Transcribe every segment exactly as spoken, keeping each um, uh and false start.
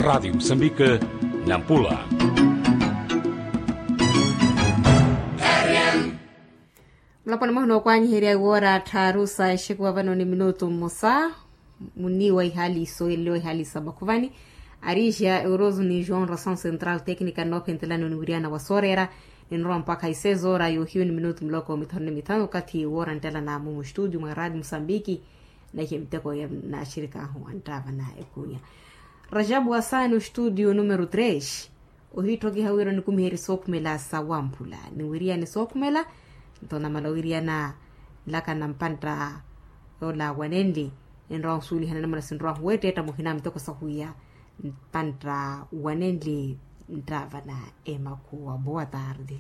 Raatio musambika, nampula. Mulaponi mwahu nookwanyiherya iwoora tthaaru sa exekuwa vano ni minutu mmosa. Muniiwa ihaali isoyeleliwa ihaali sa makhuvani, ariixya euroso ni joão ração central técnica noophentelani oniwiriyana wa sooreera. Ninrowa mpakha isezoora yoohiyu ni minutu muloko mithanu ni mithanu okathi woora nttelanaamu mustutio mwa raati musambiki. Naihe miteko ya naaxirikaahu anttaava na ekunya. Rajabu wasaani ostutio numero tres. Ohiitthokiha wira onikumiherye sookhumela sa wamphula niwiriyane sookhumela. Nto namala owiriyana nlaka na mpantta yoola wanenli. Enrowa nsuwelihana namuna sinrowahu weettetta muhina miteko sahwiya mpantta wanenli. Nttaava na emakhuwa boa tarde.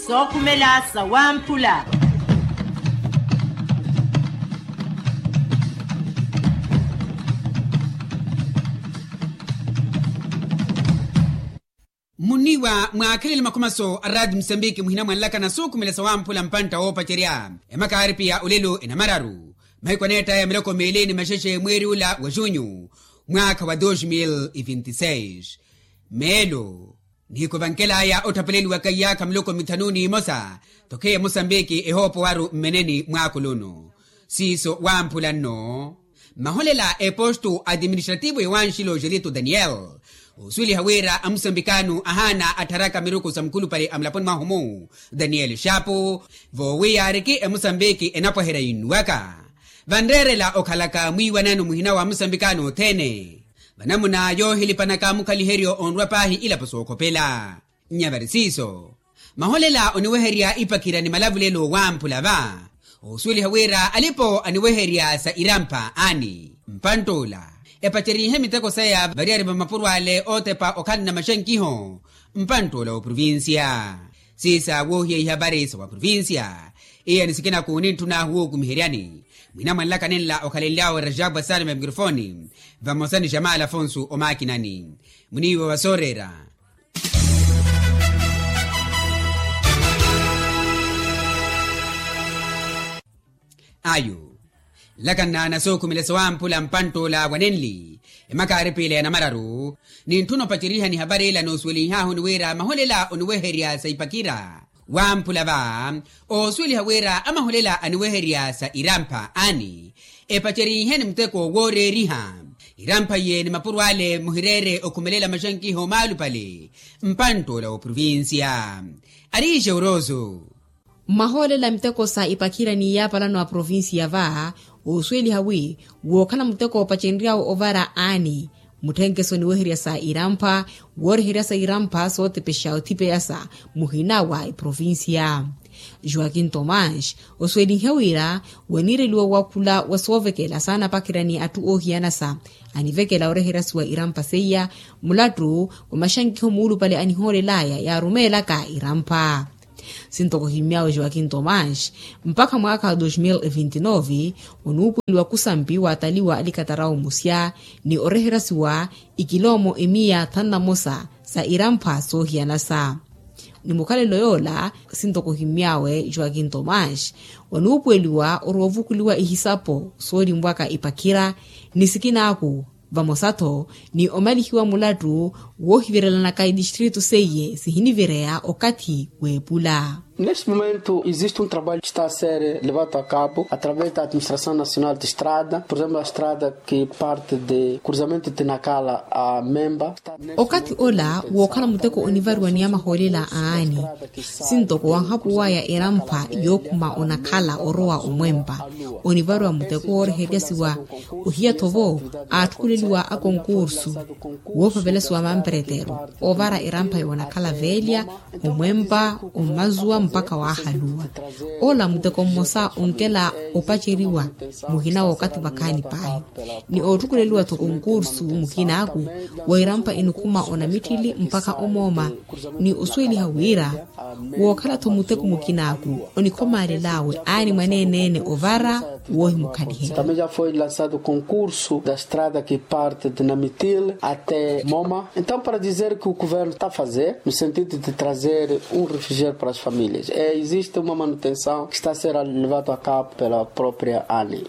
Sookhumela sa wamphula. Muniiwa mwaakhelele makhumaso a raati musambiki muhina mwanlaka na sookhumela sa wamphula mpantta woopacerya. Emakaari piya olelo enamararu mahiku aneettaya miloko meeli ni maxexe mweeri ula wa junyu mwaakha wa dos mil e vinti seis. Meelo nihiku vankelaya otthapeleliwaka iyaakha miloko mithanu n'imosa. Tokheya musambiki ehoopowaru mmeneni mwaakulu onu siiso wamphula nno. Maholela a eposto administrativo ya wanxilo gelito daniel osuweliha wira amusambikano ahaana attharaka miruku sa mukhulupale a mulaponi mwahu-mu daniel xapu. Voowiyaariki emusambiki enapwaherya yinnuwaka vanreerela okhalaka mwiiwanano muhina wa amusambikano othene. Vanamuna yoohilipanaka mukhaliheryo onrwa paahi ilapo sookhopela. Nyavari siiso maholela oniweherya ipakhira ni malavulelo wamphula va. Osuweliha wira alipo aniweherya sa irampha aani mpantt'ula epacerihe miteko saya variyari va mapuro ale ootepa okhala na maxankiho. Mpantt'ula wa provincia siisa woohiya ihavari sa wa provincia. Iya ni sikinaku nintthun'ahu wookumiheryani mwina mwanlaka nenla okhalenly'awe rajabwa salima mikrofoni vamosa ni jamala afonso omaakinani. Muniiwa wa sooreera. Ayo nlaka nnaana sookhumela sa wamphula mpantt'ula wa nenli emakaari piila ya namararu. Nintthuna opacerihani havari ila noosuwelihaahu ni wira maholela oniweherya sa ipakira wamphula va. Oosuweliha wira amaholela aniweherya sa irampha aani epacerihe ni muteko wooreeriha irampha iye ni mapuro ale muhireere okhumelela maxankiho maalupale. Mpantt'ula wa provincia ariixe orooso. Mmahoolela miteko sa ipakhira ni yaapalano a provincia va. Oosuweliha wi wookhala muteko opacenry'awe ovara aani mutthenkeso niweherya sa irampha wooreherya sa irampha sootepexa othipeyasa muhina wa eprovincia. Joaquim tomás osuwelihe wira waniireliwa wakhula wa soovekela saanapakhira ni atthu oohiyanasa anivekela oreheryasiwa irampha seiya mulattu wa maxankiho muulupale anihoolel'aya yaarumeelaka irampha. Sintokohimmyawe joaquim tomás mpakha mwaakha wa dos mil e vinti nove onuupuweliwa kusampi waataliwa alikatarawo musya ni oreheryasiwa ikiloomo emiya thanu na mosa sa irampha soohiyanasa. Ni mukhalelo yoola sintokohimmyawe joaquim tomás onuupuweliwa oroovukuliwa ihisapo soolinwaka ipakhira ni sikinaaku vamosa-tho ni omalihiwa mulattu woohivirelanaka itistritu seiye sihinivireya okathi w'epula. Neste momento existe um trabalho que está a ser levado a cabo através da administração nacional de estrada por exemplo a estrada que parte de cruzamento de nakala a memba. Okathi ola wookhala muteko onivariwa ni amahoolela aani sintoko wanhapuwaya erampha yookhuma onakhala orowa omwempa onivariwa muteko wooreheryasiwa ohiya-tho vo aatthukuleliwa akonkursu woopavelasiwa mamperetero oovara erampha yoonakhala veelya omwempa ommazuwa mpakha waahaluwa. Ola muteko mmosa onkela opaceriwa muhina wookathi vakhaani paahi ni ootthukuleliwa-tho konkursu mukinaaku wa irampha inikhuma onamitthili mpakha omooma ni osuweliha wira wookhala-tho muteko mukinaaku onikhomaalel'awe aani mwaneene-ene ovara Woohimukhalihe. Também já foi lançado concurso da estrada que parte de Namitil até Moma. Então, para dizer que o governo está a fazer, no sentido de trazer um refúgio para as famílias, é, existe uma manutenção que está a ser levado a cabo pela própria ANI.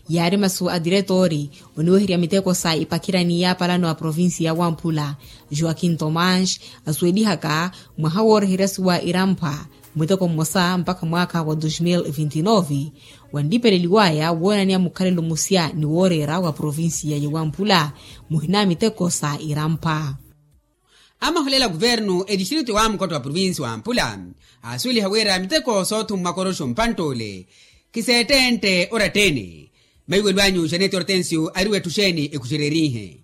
Yaari masu a diretori oniweherya miteko sa ipakhirani yaapalano a provincia ya wamphula, joaquim tomás, asuwelihaka mwaha wooreheryasiwa irampha muteko mmosa mpakha mwaakha wa dos mil vinti nove, wantipeleliwaya woonaniya mukhalelo musya ni wooreera wa provincia ya wamphula muhina miteko sa irampha. Amaholela kuvernu etistritu ya wamukotta wa provincia wa mpula, aasuweliha wira miteko soothummwa koroxo mpantt'ole kiseettentte oratta-ene. Maiwelo anyu janete ortensio ari wettu xeeni ekuxererihe?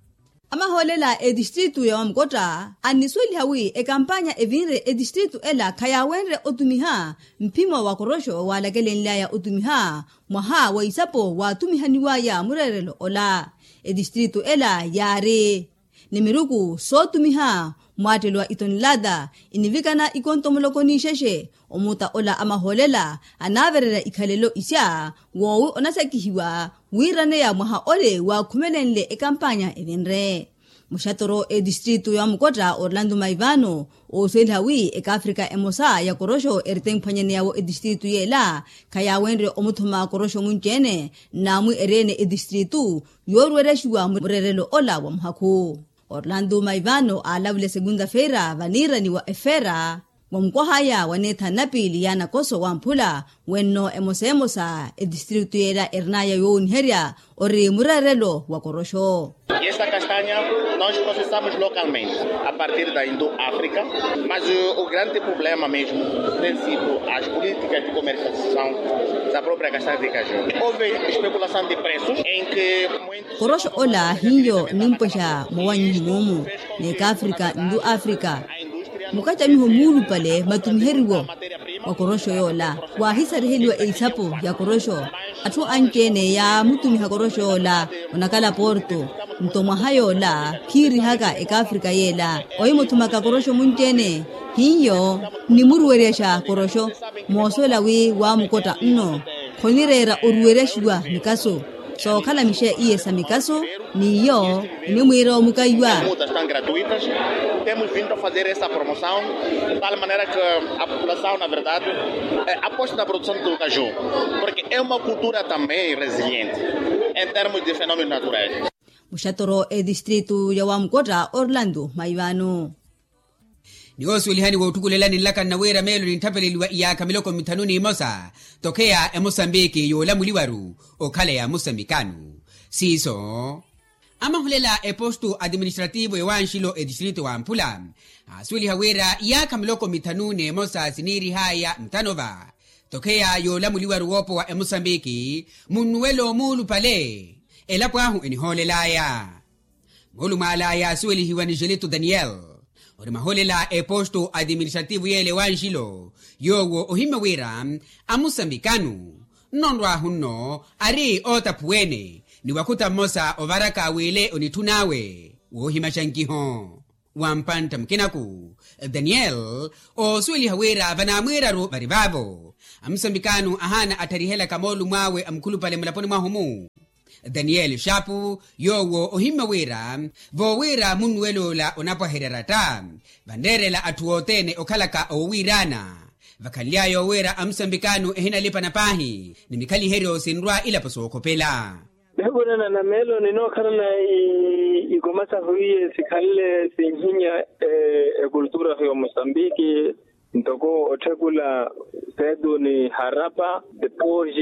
Amahoolela etistritu ya wamukotta annisuweliha wi ekampanya evinre etistritu ela khayaawenrye otumiha mphimo wa koroxo waalakelenly'aya otumiha mwaha wa isapo waattumihaniw'aya mureerelo ola. Etistritu ela yaari ni miruku sootumiha mwaattelo wa itonilata inivikana ikonto muloko n'ixexe. Omuta ola amahoolela anaavererya ikhalelo isya woowi onasakihiwa wiiraneya mwaha ole waakhumelenle ekampanya evinre. Muxatoro etistritu ya wamukotta orlando maivano oosuweliha wi ekaafrika emosa ya koroxo erite emphwanyaneyawo etistritu yeela khayaawenrye omuthuma koroxo munci-ene nnaamwi eri-ene etistritu yooruweryaxiwa mureerelo ola wa muhakhu. Orlando maivano aalavule segunda feira vaniirani wa efera wa mukwah'aya waneetha napiili ya nakoso wamphula wenno emosa emosa etistritu yeela erin'aya yoowoniherya ori mureerelo wa koroxo. E esta castanha nós processamos localmente a partir da indo africa, mas o grande problema mesmo tem sido as políticas de comercialização da própria castanha de caju. Houve especulação de preços em que muitos koroxo ola hiyo nimpwexa mwawanyiho moomu n'ekaafrika nlu afrika mukacamiho muulupale matumiheriwo wa koroxo yoola. Waahisariheliwa eisapo ya koroxo atthu anci-ene yaamutumiha koroxo yoola onakala porto nto mwaha yoola khiirihaka ekaafrika yeela ohimuthumaka koroxo munci-ene. Hiyo nnimuruweryaxa koroxo moosuwela wi waamukotta nno khonireera oruweryaxiwa mikaso sookhala mixe iye sa mikaso n'iyo enimwiira omukaiwa. Mutas tan gratuitas temos vindo a fazer essa promoção de tal maneira que a população na verdade aposta na produção do caju, porque é uma cultura também resiliente em termos de fenômenos naturais. Muxatoro etistritu ya wamukotta orlando maivano. Ni woosuwelihani wootthukulelani nlaka nnawiira meelo ninttapeleliwa iyaakha miloko mithanu n'imosa tokheya emosambiki yoolamuliwaru okhala ya mosambikano. Siiso amahulela epostu atiministrativo ewanxilo etistritu wa mphula aasuweliha wira iyaakha miloko mithanu n'emosa siniirih'aya muthanova tokheya yoolamuliwaru woopowa emosambiki munnuwelo muulupale. Elapo ahu enihoolel'aya moolumw'ala yaasuwelihiwa ni gelito daniel ori maholela eposto atiministrativo yeele wanxilo yoowo ohimmya wira amusambikanu nnonrw'ahu nno ari ootaphuwene ni wakhuta mmosa ovaraka w'ile onitthun'awe woohimaxa nkiho. Wa mpantta mukinaku daniel oosuweliha wira vanaamwiiraru vari vaavo amusambikanu ahaana attharihelaka moolumw'awe a mukhulupale mulaponi mwahu-mu. Daniel xaapu yoowo ohimmya wira voowira munnuwel'ula onapwaherya ratta vanreerela atthu othene okhalaka owiiraana vakhanly'aya owiira amusambikanu ehinalipana paahi ni mikhaliheryo sinrwa ilapo sookhopela. Mihukunana na meelo ninookhalana ikoma sahu iye sikhanle sinhinya ekultura ya omosambiki ntoko otthekula setu ni harapa depois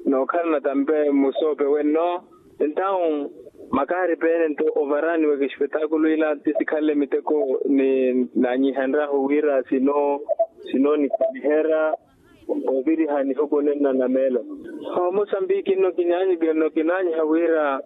nookhalana tampe musoope wenno. Entawu makaari peene nto ovarani wa kexpetakulu ila ti sikhanle miteko ni naanyihenryahu wira sino sino nikhaliherya ooviriha nihukunenna na meelo. Omosambiki nno kinaanyiha wira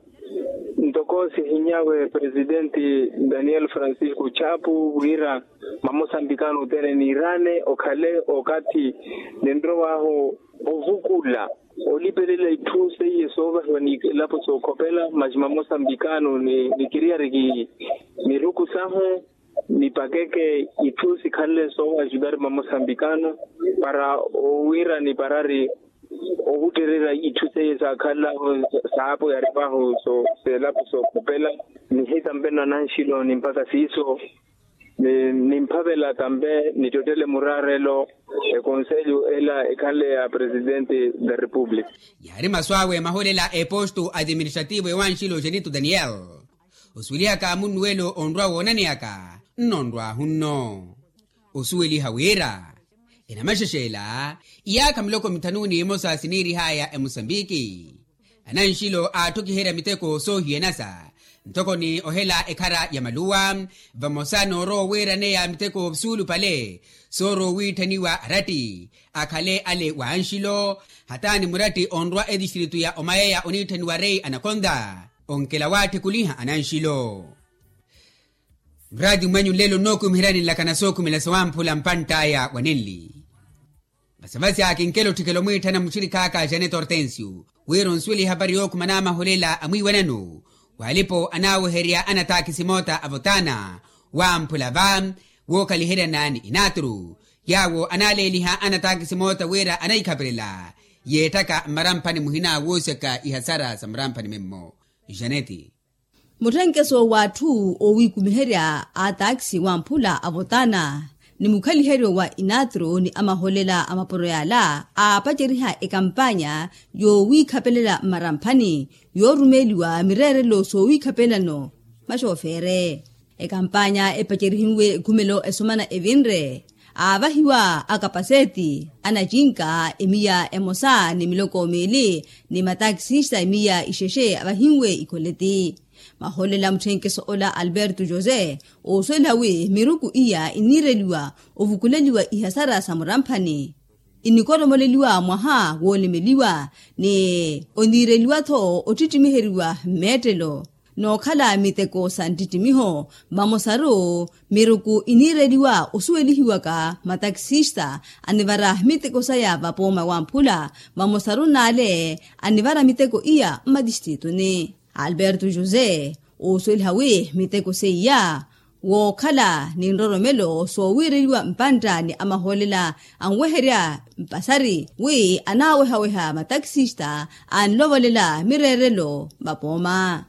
ntoko sihinyawe presidenti daniel francisco chapu wira mamosambikano othene niirane okhale okathi ninrow'ahu ovukula olipelela itthu seiye soovahiwa ni elapo sookhopela masi mamosambikano nikiriyariki miruku sahu nipakeke itthu sikhanle soowa ajudar mamosambikano para owira niparari Ohuttererya itthu seiye saakhanlahu saapo yaripahu, seelapo sookhopela. Nihita mpeno ananxilo ni mpakha siiso, nimphavela tampe nittottele muraarelo. Ekonselho ela ekhanle ya presidente da república. Yaari masu awe maholela a eposto administrativo ewanxilo genito daniel. Osuwelihaka munnuwelo onrwa woonaneyaka nnonrwahu nno. Osuweliha wira enamaxexe ela iyaakha miloko mithanu n'imosa siniirihaya emosambiki. Ananxilo aatthokiherya miteko soohiyanasa ntoko ni ohela ekhara ya maluwa vamosa n'orowa oweeraneya miteko suulupale soorowa owiitthaniwa aratti akhale ale wa anxilo hata ni muratti onrwa etistritu ya omayeya oniitthaniwa rei anakonta. Onkela waatthikuliha ananxilo. Mraati mwanyu nlelo nnookumiheryani nlakana sookhumela sawamphula mpantt'aya wa nenli. Vasavasi akinkela otthikela omwiitthana muxirikhaaka janet hortensio wira onsuwela ehapari yookhumana amaholela a mwiiwanano w'alipo anaaweherya anataakisi moota avotana wamphula va wookhaliheryana ni inatru yaawo anaaleeliha anataakisi moota wira anahikhapelela yeettaka mmaramphani muhina woosyaka ihasara sa mmaramphani memmo. Janeti. Mutthenkeso w'atthu oowiikumiherya a taakisi wamphula avotana ni mukhaliheryo wa inatru ni amaholela a mapuro yaala aapaceriha ekampanya yoowiikhapelela mmaramphani yoorumeeliwa mireerelo soowiikhapelano maxoofeere. Ekampanya epacerihiwe ekhumelo esomana evinre aavahiwa akapaseti anacinka emiya emosa ni miloko miili ni mataakisista emiya ixexe avahinwe ikoleti. Maholela mutthenkeso ola alberto jose oosuweliha wi miruku iya iniireliwa ovukuleliwa ihasara sa muramphani inikoromoleliwa mwaha woolemeliwa ni oniireliwa-tho ottittimiheriwa mmeettelo nookhala miteko sa nttittimiho. Vamosaru miruku iniireliwa osuwelihiwaka matakisista anivara miteko saya vapooma wamphula vamosaru n'ale anivara miteko iya mmatistrituni. Alberto jose oosuweliha wi miteko seiya wookhala ni nroromelo soowiireliwa mpantta ni amahoolela anweherya mpasari wi anaawehaweha matakisista anlovolela mireerelo vapooma.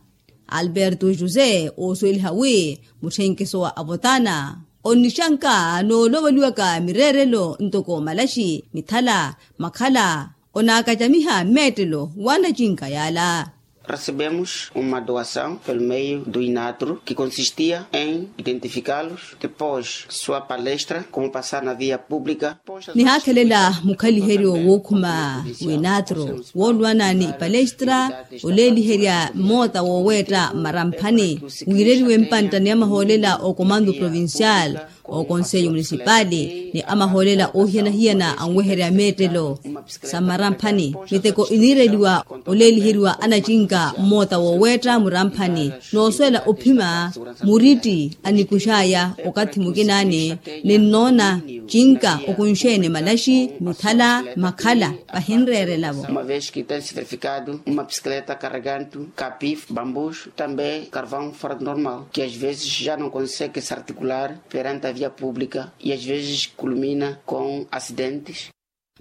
Alberto jose oosuweliha wi mutthenkeso wa avotana onnixanka nooloweliwaka mireerelo ntoko malaxi mithala makhala onaakacamiha mmeettelo w'anacinka yaala. Recebemos uma doação pelo meio do inatro que consistia em identificá-los depois sua palestra como passar na via pública. Nihaakhelela mukhaliheryo wookhuma w'inatro woolwana ni ipalestra oleeliherya mmoota wooweetta mmaramphani wiireliwe mpantta ni amahoolela okomando provincial okonselho munisipali ni amahoolela oohiyana-hiyana anweherya meettelo sa mmaramphani miteko iniireliwa oleeliheriwa anacinka mmoota wooweetta muramphani noosuwela ophima muritti anikux'aya okathi mukinaani ninnoona cinka okunxeene malaxi mithala makhala vahinreerelavo. Uma vez que tem se verificado uma bicicleta carregando capif bambus também carvão fora do normal que às vezes já não consegue se articular perante a via pública e às vezes culmina com acidentes.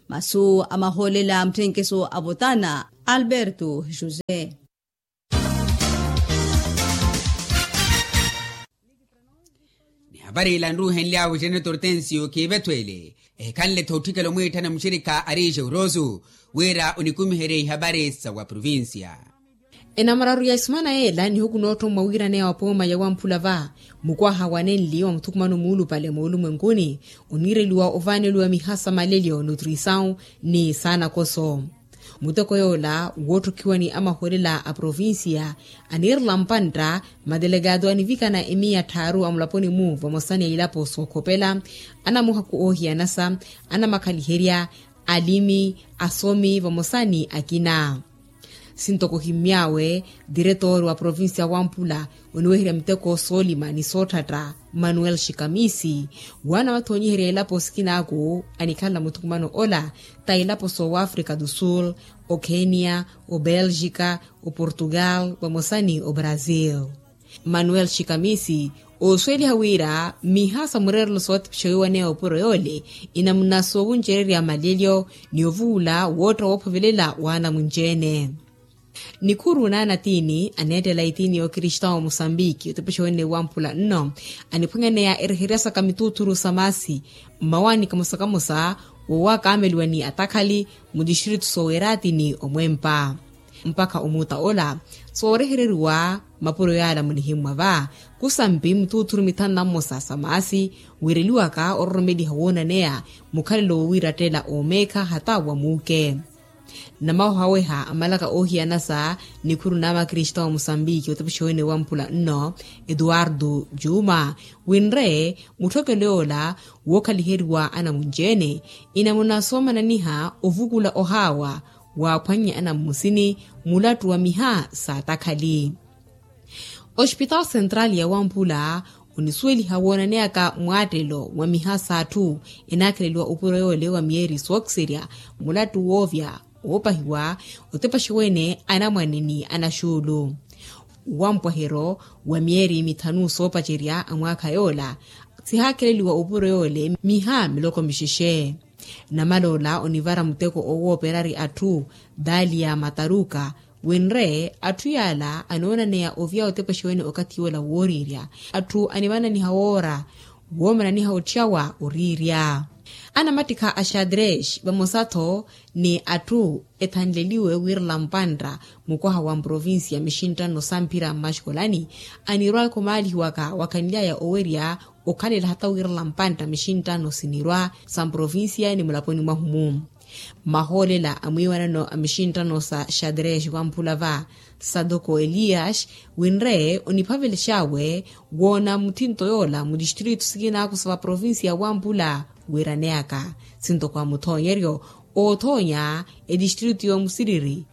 Masu a mahoolela a mutthenkeso a votana alberto josé. Ni hapari ila nruuhenly'awe jeneto hortensio khiivetho ele ehikhanle-tho otthikela omwiitthana muxirikha ari jeuroso wira onikumiherye ihapari sa wa provincia. Enamararu ya isimana yeela nihuku noottommwa wiiraneya wa pooma ya wamphula va mukwaha wa nenli wa muthukumano muulupale moolumwenkuni oniireliwa ovaaneliwa miha sa malelyo nutrisaw ni saanakoso. Muteko yoola woottokhiwa ni amahoolela a provincia aniirela mpantta madelegado anivikana emiya tthaaru a mulaponi-mu vamosa ni a ilapo sookhopela anamuhaku oohiyanasa anamakhaliherya alimi asomi vamosa ni akina. Sintoko ohimmy'awe diretor wa provincia wampula oniweherya miteko soolima ni sootthatta manuel xikamisi waana wathoonyiherya ilapo sikinaaku anikhala muthukumano ola ta ilapo soowa africa do sul, okenya, obelgica, oportugal vamosa ni obrazil. Manuel xikamisi Oosuweliha wira miha sa mureerelo sootipixa wiiwaneya opuro yoole, inamuna soowuncererya malelyo ni ovuula wootta woophovelela waanamunci-ene. Nikhuru naana tiini aneettela itiini y'okristaawo musambiki otepexa wene wamphula nno, aniphwanyaneya ereheryasaka mituuthuru sa maasi mmawaani kamosa kamosa, woowakaameliwa ni atakhali mutistritu soowerati ni omwempa. Mpakha omuuta ola soorehereriwa mapuro yaala munihimmwa va, kusampi mituuthuru mithanu na mmosa sa maasi, wiireliwaka ororomeliha woonaneya mukhalelo woowiirattela oomeekha hata wa muuke. Namawehaweha amalaka oohiyana sa nikhuru n'amakristaawo musambiki otepexa wene wamphula nno, etuwartu juma, winre mutthokelo yoola wookhaliheriwa anamunci-ene, inamuna soomananiha ovukula ohaawa waaphwannye anammusini mulattu wa miha sa atakhali. Ospitawo sentrali ya wamphula onisuweliha woonaneyaka mwaattelo wa miha s'atthu enaakheleliwa opuro yoole wa miyeeri sookiserya mulattu woovya woopahiwa otepaxe wene anamwane ni anaxuulu. Wampwahero wa miyeeri mithanu soopacerya a mwaakha yoola sihaakheleliwa opuro yoole miha miloko mixexe. Namaloola onivara muteko owooperari atthu dalia mataruka, winre atthu yaala anoonaneya ovya otepexe wene okathi yoola wooriirya. Atthu animananiha woora woomananiha ottyawa oriirya. Anamattikha a xadrex vamosa-tho ni atthu ethanleliwe wiirela mpantta mukwaha wa mprovincia mixinttano samphira mmaxikolani anirwa ekhomaalihiwaka wakhanly'aya owerya okhalela hata wiirela mpantta mixinttano sinirwa sa mprovincia ni mulaponi mwahu-mu. Mahoolela a mwiiwanano a mixinttano sa xadrex wamphula va sadoko elias winre oniphavelex'awe woona muthinto yoola mutistritu sikinaku sa vaprovincia wamphula wiiraneyaka sintoko a muthoonyeryo oothoonya etistritu y'omusiriri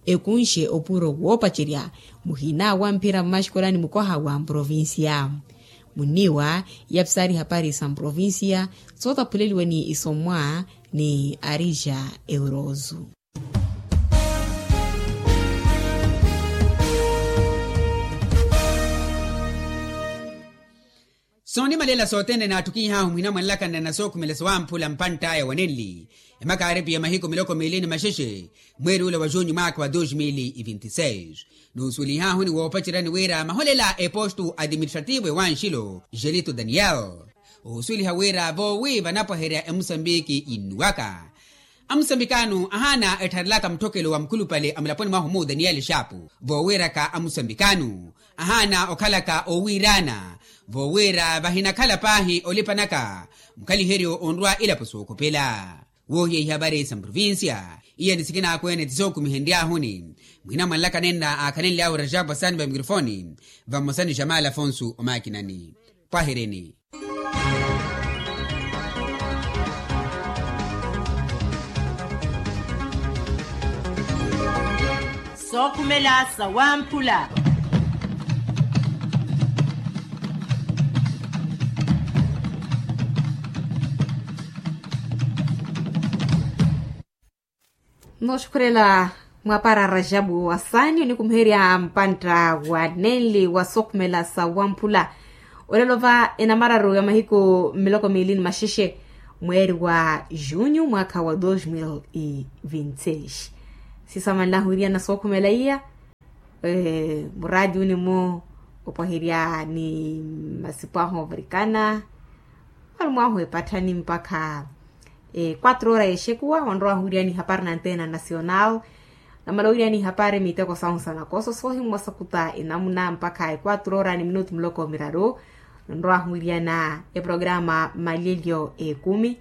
ekunxe opuro woopacerya muhina wamphira mmaxikolani mukwaha wa mprovincia. Munniiwa iyapisaari ihapari sa mprovincia sootaphuleliwa ni isommwa ni arija eurozu. Soonimalela sothene naattukiih'ahu muhina mwanlakanana sookhumela sowamphula mpantt'aya wa nenli emakaaripi ya mahiku miloko miili ni maxexe mweeri ula wa junyu mwaakha wa dos mil e vinti seis. Nuusuwelih'ahu ni woopaceryani wira maholela a epostu administrativo ewanxilo gelito daniel ohusuweliha wira voowi vanapwaherya emusambiki innuwaka amusambikanu ahaana ettharelaka mutthokelo wa mukhulupale a mulaponi mwahu-mu daniel xaapu voowiiraka amusambikanu ahaana okhalaka oowiiraana voowiira vahinakhala paahi olipanaka mukhaliheryo onrwa ilapo sookhopela. Woohiya ihapari sa mprovincia iya ni sikinaakweene ti sookumihenry'ahuni muhina mwanlaka nenna aakhanenly'ahu rajabu asani va mikrofoni vamosa ni jamal afonso omaakinani. Pwahereni. Sookhumela sawamphula. Nooxukhurela mwapara rajabu wa saani onikumiherya mpantta wa nenli wa sookhumela sawamphula. Olelo va enamararu ya mahiku miloko miili ni maxexe mweeri wa junyu mwaakha wa dos mil e vinti seis. Sisamanlahu wiriana sookhumela iya muraatiuni-mu opwaherya ni masipu ahu ovirikana mwalumu ahu epatthani mpakha quatro ora yexekuwa onrowahu wiriani ihapari na antena nacional. Namala owiriani ihapari miteko sahu sa nakoso soohimmosa khuta enamuna mpakha quatro ora ni minutu muloko miraru. Nrowahu wiriana eprograma malelyo ekumi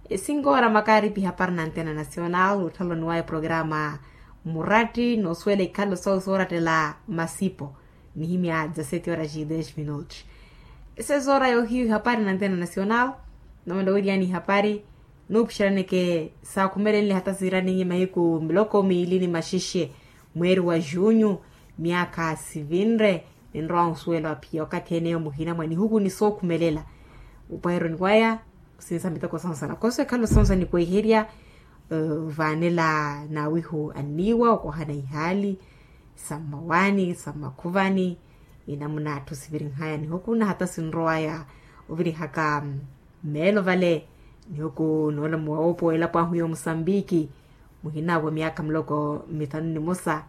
esinko ora makaaripi ihapari na antena nacional otthaloni wa eprograma muratti noosuwela ikhalo sahu soorattela masipo. Nihimya dezaseti ora ci des minutos esezora yohiyu ihapari na antena nacional. Namala owiriani ihapari nuupixeraneke saakhumelenle hata siiraninye mahiku miloko miili ni maxexe mweeri wa junyu myaakha sivinre. Ninrowa onsuwela ophiya okathi ene yo muhina mwa nihuku ni sookhumelela opwaheroni waya. Sinsa miteko sahu sa nakoso ekhalo sahu sa nikweherya vaanela naawihu anniiwa okohana ihaali sa mmawaani sa mmakhuvani. Inamuna atthu sivirinhaya nihuku na hata sinrowaya ovirihaka meelo vale. Nihuku noolamuwa woopowa elapo ahu ya omusambiki muhinaavo myaka muloko mithanu nimosa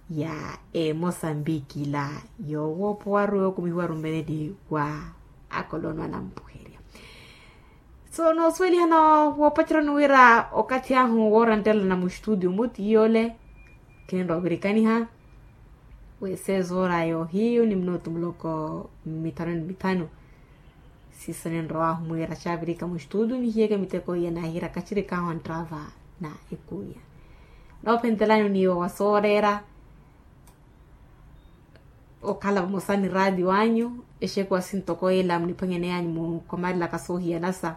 ya emosambiki la yowoopowaru yookumihiwaru mmeneni wa akolono anampuherya. So noosuwelihana woopacerani wira okathi ahu woorantelana mustudio muti yole kinrovirikaniha wesezoora yoohiyu ni minutu muloko mithanu ni mithanu. Siisa ninrowahu mwiira xaavirika mustudio nihiyeke miteko iya naahiira kacirikaahu anttava na ekunya. Noophentelani oniiwa wa sooreera okhala vamosa ni raatiyo anyu exekuwa sintoko ela muniphwanyaneyanyu mukomalelaka soohiyanasa.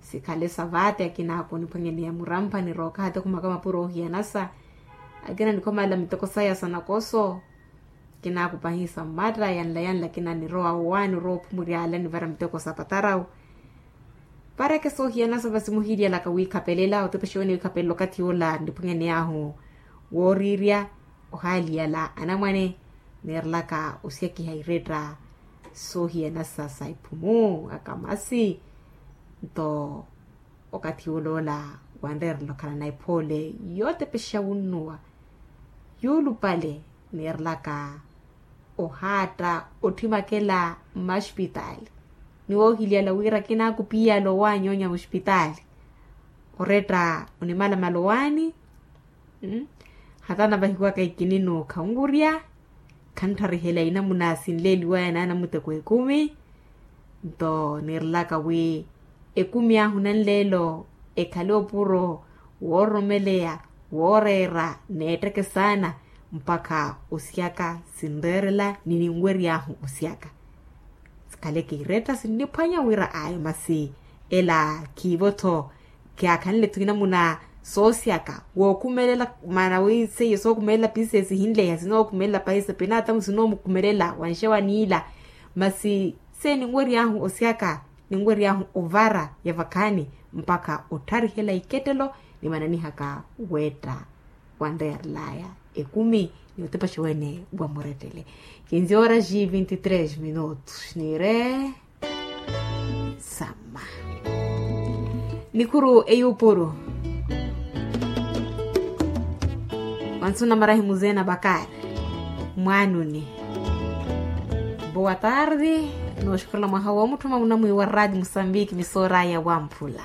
Sikhale sa vaati akina akuniphwanyaneya murampha nirookaha ti okhumaka mapuro oohiyanasa. Akina nikhomalela miteko saya sa nakoso. Kina akupahiisa mmatta yanla yanla kina nirowa owaani orowa ophumurya ala nivara miteko sa patarawu. Pareke soohiyanasa vasi muhiilyalaka wiikhapelela otepexe wene wiikhapelela okathi yoola nniphwanyaney'ahu wooriirya. Ohaaliyala anamwane neerelaka osyakhiha iretta soohiyanasa sa iphumu akamasi. Nto okathi yoola ola wanreerela okhalana ephoole yootepexa wunnuwa yuulupale neerelaka ohaatta otthimakela mmaxipitaali. Ni woohilyala wira kinaakupiyala owaanyoonya muxipitaali oretta onimalamala owaani. Hata navahiwaka ikinino khanwurya khanttarihela inamuna sinleeliwaya naana muteko ekumi. Nto niirelaka wi ekumi ahu nanleelo ekhale opuro wooromeleya wooreera neetteke saana mpakha osyaka sinreerela ni ninwery'ahu osyaka. Sikhaleke iretta sinniphwanya wira ayo masi ela khiivo-tho. Kyaakhanle-tho inamuna soosyaka wookhumelela maana wi seiyo sookhumelela piseesi hinleya sinookhumelela paisa pinaatamu sinoomukumelela wanxe waniila. Masi seiyo ninwery'ahu osyaka ninwery'ahu ovara ya vakhaani mpakha ottharihela ikettelo nimananihaka wetta wanreerelaya ekumi ni otepexa wene wa murettele. Kinzi horas e vinte e três minutos niire samma nikhuru eyuupuru wansu namarahi muzee na bakari mwaanuni. Boa tarde. Nooxukhurela mwaha woomutthuma munamwiiwa raati musambiki misooraya wamphula.